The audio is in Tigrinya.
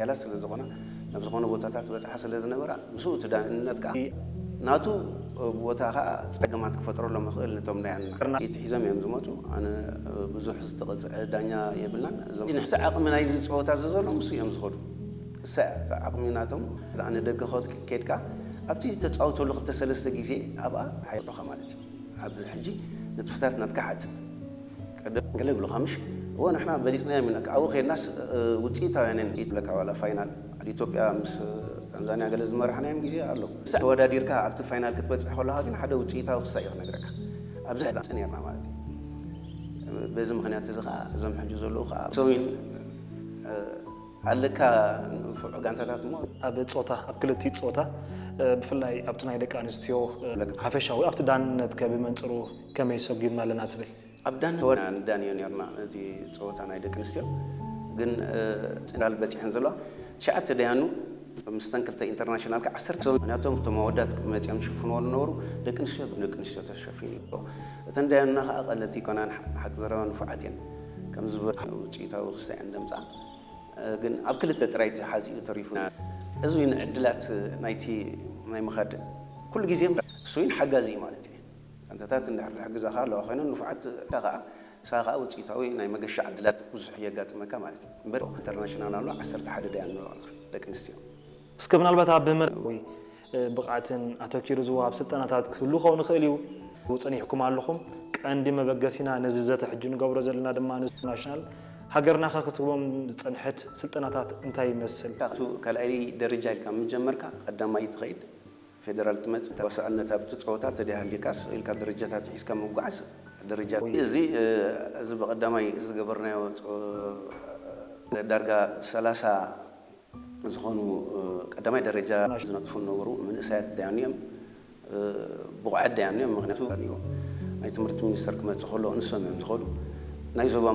ሓያላት ስለ ዝኾና ናብ ዝኾነ ቦታታት በጽሓ ስለ ዝነበራ ምስኡ እቲ ዳንነት ከዓ ናቱ ቦታ ከዓ ጸገማት ክፈጥረሎም ይኽእል። ነቶም ዳያንና ሒዞም እዮም ዝመፁ። ኣነ ብዙሕ ዝተቐፅዐ ዳኛ የብልናን። እዞም ንሕዚ ዓቕሚ ናይዚ ፀወታ እዚ ዘሎ ምስ እዮም ዝኸዱ እሳ ዓቕሚ ናቶም ንደገ ኬድካ ኣብቲ ተፃውተሉ ክልተ ሰለስተ ግዜ ኣብኣ ሓይሎኻ ማለት እዩ። ኣብዚ ሕጂ ንጥፈታት ናትካ ሓትት ቀደም ገለ ይብሉኻ ምሽ እዎ ንሕና በሊፅናዮም ኢና። ኣብኡ ከድናስ ውፅኢታውያን ይብለካ። ዋላ ፋይናል ኢትዮጵያ ምስ ታንዛንያ ገለ ዝመራሕናዮም ግዜ ኣሎ። ተወዳዲርካ ኣብቲ ፋይናል ክትበፅሕ ከለኻ ግን ሓደ ውፅኢታዊ ክሳይ እዩ ክነግረካ። ኣብዚ ሕዳፅ ነርና ማለት እዩ። በዚ ምክንያት እዚ ከዓ እዞም ሕጂ ዘለዉ ከዓ ሰዊን ኣለካ ንፉዕ ጋንታታት እሞ ኣብ ፆታ ኣብ ክልቲኡ ፆታ ብፍላይ ኣብቲ ናይ ደቂ ኣንስትዮ ሓፈሻዊ ኣብቲ ዳንነት ከ ብመንፅሩ ከመይ ሰጒምና ኣለና ትብል? ኣብ ዳን ወና ንዳንዮ ነርና እቲ ፀወታ ናይ ደቂ ኣንስትዮ ግን ፅናል በፂሐን ዘለዋ ትሽዓተ ደያኑ ምስተን ክልተ ኢንተርናሽናል ከ ዓሰርተ ሰብ ምክንያቶም እቶም ኣወዳት መፂኦም ዝሽፍንዎ ዝነበሩ ደቂ ኣንስትዮ ደቂ ኣንስትዮ ተሸፊኑ እዩ። እተን ደያኑና ከዓ ቀለልቲ ይኮናን ሓቂ ዘረባ ንፉዓት እየን ከም ዝበል ውፅኢታዊ ክሳይ እንደምፃ ግን ኣብ ክልተ ጥራይ ተሓዚኡ ተሪፉ። እዚ እውን ዕድላት ናይቲ ናይ ምኻድ ኩሉ ግዜ እሱ እውን ሓጋዚ እዩ ማለት እዩ። ጋንታታት እንድሕር ዝሕግዛኻ ኣለዋ ኮይነን ንፉዓት ከዓ ንስኻ ከዓ ውፅኢታዊ ናይ መገሻ ዕድላት ብዙሕ የጋጥመካ ማለት እዩ። እምበር ኢንተርናሽናል ኣሎ ዓሰርተ ሓደ ደያን ኣለዋና ደቂ ኣንስትዮ። እስከ ምናልባት ኣብ መርዊ ብቕዓትን ኣተኪሩ ዝወሃብ ስልጠናታት ክህሉ ክኸውን ይኽእል እዩ። ጸኒሕኩም ኣለኹም። ቀንዲ መበገሲና ነዚ ዘተ ሕጂ ንገብሮ ዘለና ድማ ንሱ ናሽናል ሃገርና ከክትቦም ዝጸንሐት ስልጠናታት እንታይ ይመስል? ካብቱ ካልኣይ ደረጃ ኢልካ ምጀመርካ ቀዳማይ ትኸይድ ፌደራል ትመጽእ ተወሳእነት ኣብቲ ጸወታ ተደይ ሃሊካስ ኢልካ ደረጃታት ሒዝካ ምጓዓዝ ደረጃ እዚ እዚ ብቐዳማይ ዝገበርናዮ ዳርጋ ሰላሳ ዝኾኑ ቀዳማይ ደረጃ ዝነጥፉ ዝነበሩ መንእሰያት ዳያኑ እዮም። ብቑዓት ዳያኑ እዮም። ምክንያቱ ናይ ትምህርቲ ሚኒስተር ክመፅእ ከሎ ንሶም እዮም ዝኸዱ። ናይ ዞባ